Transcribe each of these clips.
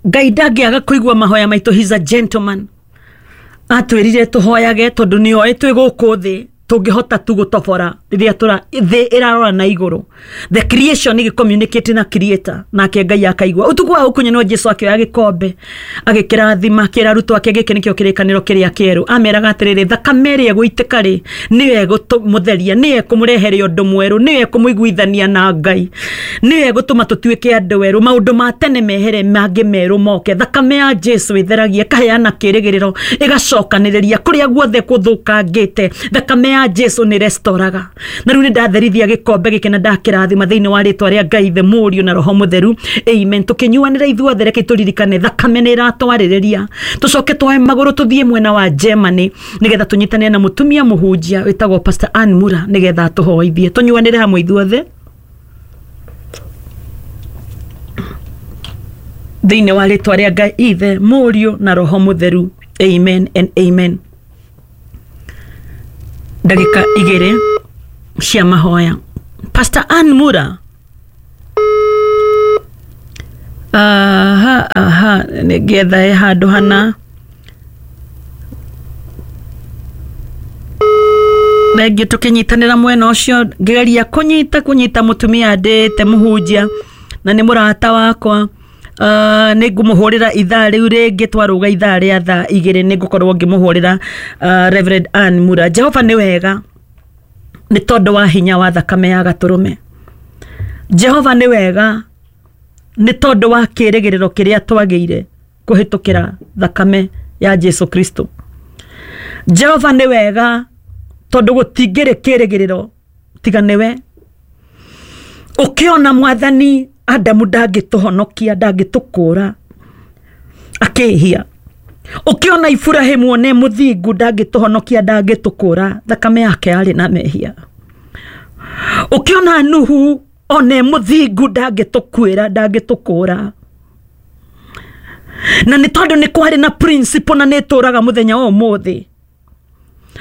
Ngai ndangĩaga kũigua mahoya maitũ. He's a gentleman. Atwĩrire tũhoyage tondũ nĩ oĩ twĩ gũkũ thĩ tũngĩhota tu gũtobora rĩrĩa tũra thĩ ĩrarora na igũrũ, the creation ĩgĩ communicate na creator, nake Ngai akaigua. Ũtukũ wa ũkunyanĩro Jesu akĩoya gĩkombe, agĩkĩrathima, akĩra arutwo ake, gĩkĩ nĩkĩo kĩrĩkanĩro kĩrĩa kĩerũ. Ameraga atĩrĩrĩ, thakame ĩrĩa ĩgũitĩka rĩ, nĩyo ĩgũmũtheria, nĩyo ĩkũmũrehere ũndũ mwerũ, nĩyo ĩkũmũiguithania na Ngai, nĩyo ĩgũtũma tũtuĩke andũ erũ, maũndũ ma tene mehere, mangĩ merũ moke. Thakame ya Jesu ĩtheragia, ĩkaheana kĩrĩgĩrĩro, ĩgacokanĩrĩria kũrĩa guothe kũthũkangĩte. Thakame ya Jesu nĩ restoraga. Na rĩu nĩ ndatherithia gĩkombe gĩkĩ na ndakĩrathima thĩinĩ wa rĩtwa rĩa Ngai the Mũriũ na Roho Mũtheru, amen. Tũkĩnyuanĩra ithuothe, reke tũririkane thakame nĩ ĩratwarĩrĩria. Tũcoke twoe magũrũ tũthiĩ mwena wa Germany nĩgetha tũnyitanĩre na mũtumia mũhunjia wĩtagwo Pastor Ann Mura nĩgetha atũhoithie. Tũnyuanĩre hamwe ithuothe thĩinĩ wa rĩtwa rĩa Ngai Ithe, Mũriũ na Roho Mũtheru, amen and amen. Ndagĩka igĩrĩ cia mahoya. Pastor Ann Mura, aha aha, nĩngetha he handũ hana. Thengiũ tũkĩnyitanĩra mwena ũcio, ngĩgeria kũnyita mũtumia ndĩte mũhunjia na nĩ mũrata wakwa. Nĩ ngũmũhũrĩra ithaa rĩu rĩngĩ twarũga ithaa rĩa thaa igĩrĩ, nĩ ngũkorwo ngĩmũhũrĩra Reverend Ann Mura. Jehova nĩ wega nĩ tondũ wa hinya wa thakame ya gatũrũme. Jehova nĩ wega nĩ tondũ wa kĩrĩgĩrĩro kĩrĩa twagĩire kũhĩtũkĩra thakame ya Jesu Kristo. Jehova nĩ wega tondũ gũtingĩrĩ kĩrĩgĩrĩro tiga nĩwe. Ũkĩona mwathani Adamu ndangĩtũhonokia, ndangĩtũkũra, akĩhia. Ũkĩona Iburahimu one mũthingu ndangĩtũhonokia, ndangĩtũkũra, thakame yake yarĩ na mehia. Ũkĩona Nuhu one mũthingu ndangĩtũkuĩra, ndangĩtũkũra, na nĩ tondũ nĩ kwarĩ na principle na nĩ ĩtũraga mũthenya wa ũmũthĩ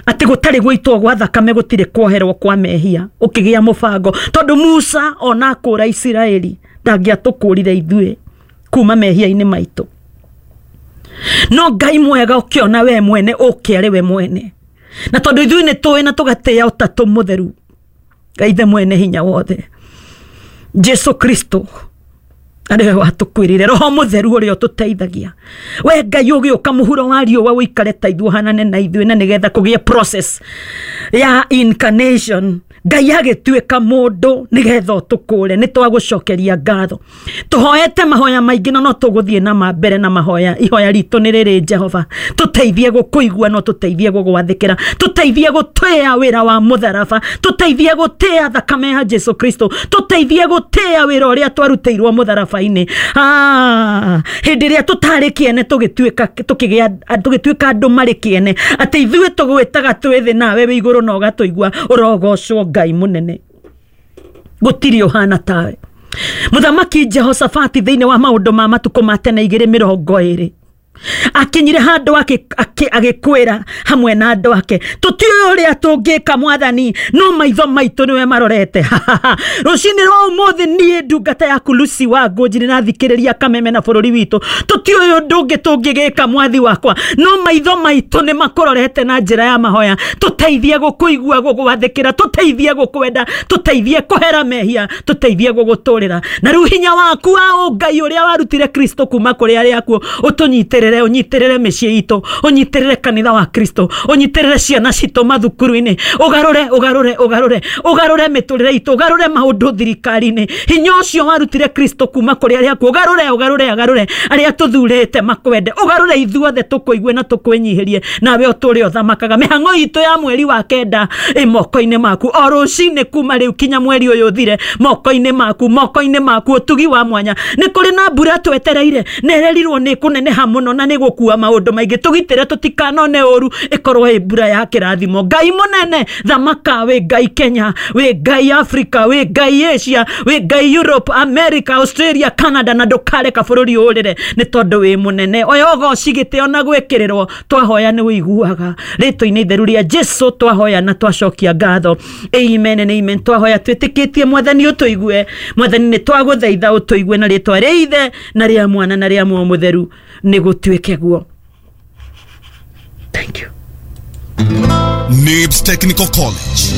atĩ gũtarĩ gũitwo gwa thakame gũtirĩ kuoherwo kwa mehia. Ũkĩgĩa mũbango tondũ Musa ona akũra Isiraeli ndangĩatũkũrire ithuĩ kuma mehia-inĩ maitũ, no Ngai mwega ũkĩona we mwene ũke arĩ we mwene, na tondũ ithuĩ nĩ tũĩ na tũgatĩĩa ũtatũ mũtheru, Ngai ithe mwene hinya wothe, Jesu Kristo arĩ we watũkuĩrĩire, Roho Mũtheru ũrĩa ũtũteithagia. We Ngai ũgĩũka mũhuro wa riũa ũikare ta ithuĩ, ũhanane na ithuĩ, na nĩgetha kũgĩe process ya incarnation, Ngai agĩtuĩka mũndũ nĩgetha ũtũkũre. Nĩ twagũcokeria ngatho. Tũhoete mahoya maingĩ no tũgũthiĩ na ma mbere na mahoya. Ihoya ritũ nĩ rĩrĩ, Jehova, tũteithie gũkũigua, no tũteithie gũgwathĩkĩra, tũteithie gũtĩĩa wĩra wa mũtharaba, tũteithie gũtĩĩa thakame ya Jesu Kristo, tũteithie gũtĩĩa wĩra ũrĩa twarutĩirwo mũtharaba-inĩ. Hĩndĩ ĩrĩa tũtarĩ kĩene tũgĩtuĩka tũkĩgĩa tũgĩtuĩka andũ marĩ kĩene, atĩ ithuĩ tũgwĩtaga twĩ thĩ nawe wĩ igũrũ na ũgatũigua. Ũrogocwo Ngai mũnene, gũtirĩ ũhana tawe. Mũthamaki Jehoshafati thĩinĩ wa maũndũ ma matukũ ma tene 2:20 akinyire handũ agĩkwĩra hamwe na andũ ake, tũtiũĩ ũrĩa tũngĩka mwathani, no maitho maitũ nĩwe marorete. Rũcinĩ rwa ũmũthĩ niĩ ndungata yaku Lucy wa Ngũnji nĩrathikĩrĩria kameme na bũrũri witũ, tũtiũĩ ũndũ ũngĩ tũngĩgĩka mwathi wakwa, no maitho maitũ nĩ makũrorete na njĩra ya mahoya. Tũteithie gũkũigua, gũgwathĩkĩra, tũteithie gũkwenda, tũteithie kũhera mehia, tũteithie gũgũtũrĩra. Na rĩu hinya waku wa ũngai ũrĩa warutire Kristo kuma kũrĩ arĩa akuũ ũtũnyitĩrĩre, ũnyitĩrĩre mĩciĩ itũ, ũnyitĩrĩre kanitha wa Kristo, ũnyitĩrĩre ciana citũ mathukuru-inĩ, ũgarũre ũgarũre ũgarũre ũgarũre mĩtũrĩre itũ, ũgarũre maũndũ thirikari-inĩ. Hinya ũcio warutire Kristo kuma kũrĩ arĩa akuũ, ũgarũre ũgarũre ũgarũre arĩa tũthurĩte makwende, ũgarũre ithuothe tũkũigue na tũkwĩnyihĩrie, nawe ũtũre ũthamakaga. Mĩhang'o itũ ya mweri wa kenda ĩ moko-inĩ maku, o rũcinĩ kuma rĩu kinya mweri ũyũ ũthire, moko-inĩ maku, moko-inĩ maku, ũtugi wa mwanya. Nĩ kũrĩ na mbura twetereire na ĩrerirwo nĩ kũneneha mũno. Na nĩ gũkua maũndũ maingĩ, tũgitĩre tũtikanone ũru, ĩkorwo ĩ mbura ya kĩrathimo. Ngai mũnene, thamaka, wĩ Ngai Kenya, wĩ Ngai Africa, wĩ Ngai Asia, wĩ Ngai Europe, America, Australia, Canada, na ndũkareka bũrũri ũrĩre nĩ tondũ wĩ mũnene. Oya ũgoci, gĩtĩo na gwĩkĩrĩrwo. Twahoya nĩ wĩiguaga. Rĩtwa-inĩ itheru rĩa Jesu twahoya na twacokia ngatho, amen and amen. Twahoya twĩtĩkĩtie Mwathani ũtũigue. Mwathani, nĩ twagũthaitha ũtũigue, na rĩtwa rĩa Ithe na rĩa Mwana na rĩa Muoyo Mũtheru nĩ gũtuĩke guo. Thank you. NIBS Technical College.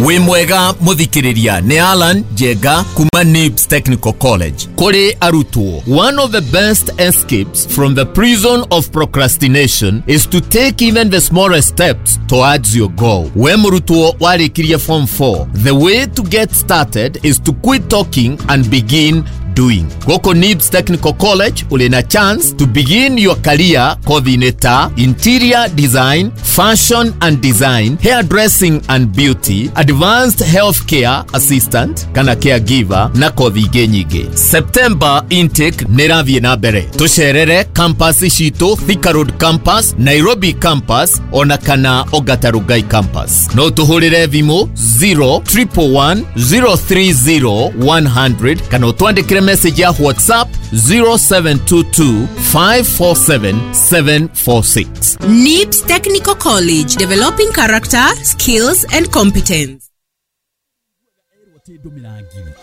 Wĩ mwega mũthikĩrĩria, nĩ Alan Njenga kuma NIBS Technical College. Kũrĩ arutwo, one of the best escapes from the prison of procrastination is to take even the smallest steps towards your goal. We mũrutwo warĩkirie form 4, the way to get started is to quit talking and begin doing. Gũkũ NIBS Technical College ũrĩ na chance to begin your career kothi-inĩ ta interior design, fashion and design, hairdressing and beauty, advanced healthcare assistant kana caregiver, na kothi ingĩ nyingĩ. September intake nĩ ĩrathiĩ na mbere. Tũcerere campus citũ, Thika Road campus, Nairobi campus, ona kana Ongata Rongai campus. No tũhũrĩre thimũ 0 111 030 100 kana ũtwandĩkĩre message ya WhatsApp 0722 547 746. NIBS Technical College, developing character, skills, and competence.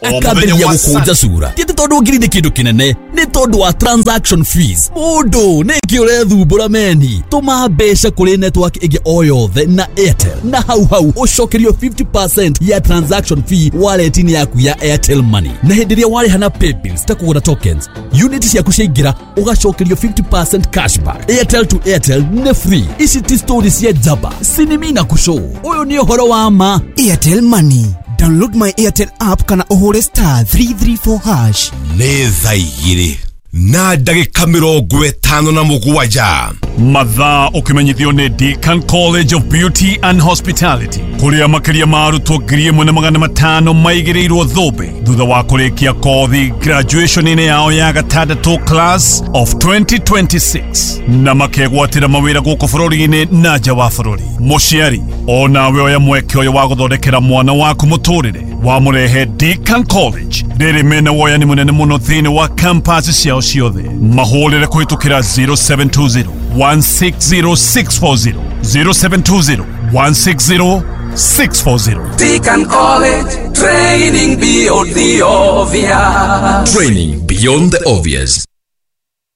Akambĩrĩria gũkũnja cura ti atĩ tondũ ngiri nĩ kĩndũ kĩnene, nĩ tondũ wa transaction fees. Mũndũ nĩkĩ ũrethumbũra meni? Tũma mbeca kũrĩ network ĩngĩ o yothe na Airtel, na hau hau ũcokerio 50% ya transaction fee wallet-inĩ yaku ya Airtel Money. Na hĩndĩ ĩrĩa warĩha na paybills ta kũgũra tokens, unit ciaku ciaingĩra ũgacokerio 50% cashback. Airtel to Airtel nĩ free. Ici ti story cia njamba sinimi na kushow, ũyũ nĩ ũhoro wa ma. Airtel Money. Download my Airtel app kana ũhũre *334#. Nĩ 2:57. Mathaa ũkĩmenyithio nĩ Deakin College of Beauty and Hospitality, kũrĩa makĩria ma arutwo 1500 maigĩrĩirwo thũmbĩ thutha wa kũrĩkia kothi graduation-inĩ yao ya gatandatũ, class of 2026, na makegwatĩra mawĩra gũkũ bũrũri-inĩ na nja wa bũrũri. Mũciari onawe oya mweke ũyũ wa gũthondekera mwana waku mũtũrĩre, wamũrehe Deakin College. Rĩrĩ mena woyani mũnene mũno thĩinĩ wa campus ciao ciothe. Mahũrĩre kũhĩtũkĩra 0720 160640, 0720 160 640. Deakin College, training beyond the obvious. Training beyond the obvious.